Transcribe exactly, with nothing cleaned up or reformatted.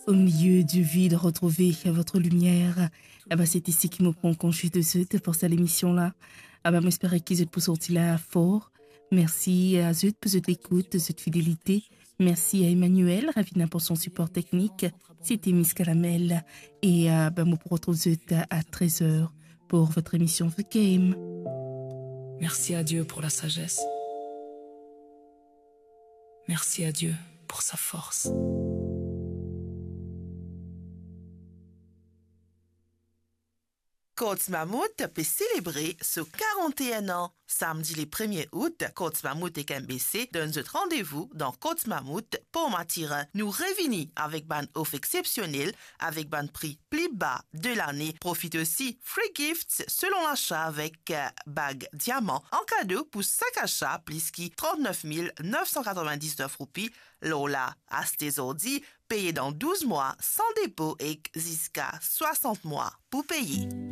Au milieu du vide, retrouvez votre lumière. Aba, se ti seki mo pran konze de zot pou sa lemision la. Aba, mo espere ki zot pou sorti la for. Mersi a zot pou zot lekout, zot fidelite. Mersi a Emmanuel, Ravina pou son sipor teknik. Se ti Miss Kalamel. E, aba, mo pou retrouv zot a trez er pour votre émission The Game. Merci à Dieu pour la sagesse. Merci à Dieu pour sa force. Courts Mammouth pe selebre so karant-enn an. Samdi le premie out, Courts Mammouth ek M B C donn zot randevou dan Courts Mammouth, Port Mathurin. Nou revini avek bann ofer exsepsionel, avek bann pri pli ba de lane. Profit osi free gifts selon lasa avek, eh, bag diaman an kado pou sak asa plis ki trant-nef mil nef san katrovin-diznef roupi. Lor la, aste zordi, peye dan douz mwa san depo ek ziska swasant mwa pou peye.